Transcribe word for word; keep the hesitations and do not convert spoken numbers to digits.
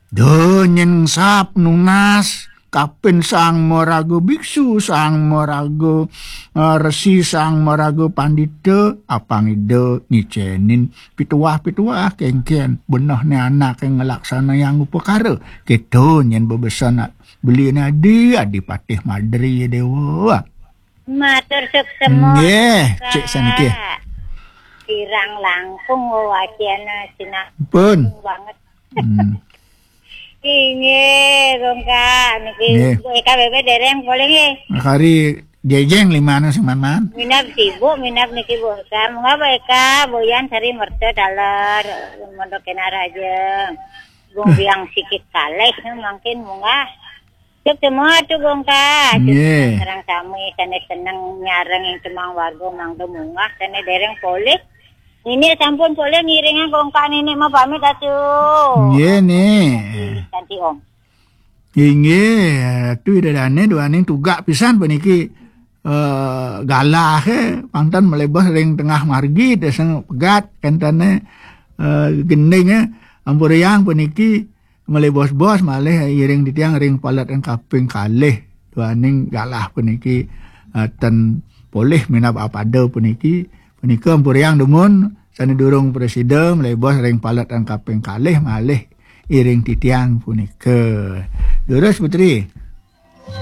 Duh, nyen sap nunas kapin sang maraga biksu, sang maraga, eh, resi, sang maraga pandita, apang Ida ngicenin pituah-pituah kengken benehne anak yang ngelaksanayang upakara. Keto nyen bebesen beli nadi Adipatih Madri Dewa. Matur suksema. Nggih, Cik Saniki. Kirang langkung wewacana sinah Pun. Banget. Hmm. Inggih, Gongka niki. Nggih. Bu Eka Bebe dereng polih nggih. Kari jejeng limane sing man-man. Minab sibuk, minab niki Bu Eka. Munggah Bu Eka, Boyan Sari Merta taler, Mondok Kena Raja. Gung Biang sikit kalih mangkin munggah. Cep semua tu Gongka. Nggih. Sareng sami sane seneng nyareng ing temang warga mangda munggah sane dereng polih. Nini sampun polih ngiringan Gongka nini mah pamit atu. Nggih, Ni. Kanti Om. Inggih, Ratu Ida Dane duaning tugak pisan puniki, eh, galah, eh, pangtan melebos ring tengah margi, deseng pegat, kentane, eh, gending, eh, ampuriang puniki melebos-bos malih iring titiang ring palet ing kaping kalih. Duaning galah puniki, eh, ten polih minab apada puniki, punika ampuriang dumun sane durung prasida melebos ring palet ing kaping kalih malih iring titiang punika. Durus Putri.